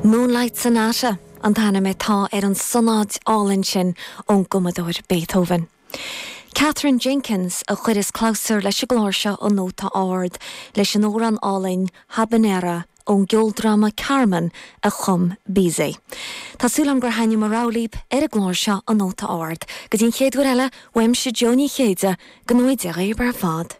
Moonlight Sonata an t-ainm atá ar an sonáid álainn sin ón gcumadóir Beethoven. Katherine Jenkins a chuireas clabhsúr leis an gclár seo An Nóta Ard leis an amhrán álainn Habanera ón gceoldráma Carmen a chum Bizet. Tá súil agam gur thaitnigh mo rogha libh ar an gclár seo An Nóta Ard. Go dtí an chéad uair eile, uaimse Jó Ní Chéide, go ngnóthaí Dia dhaoibh ar fad.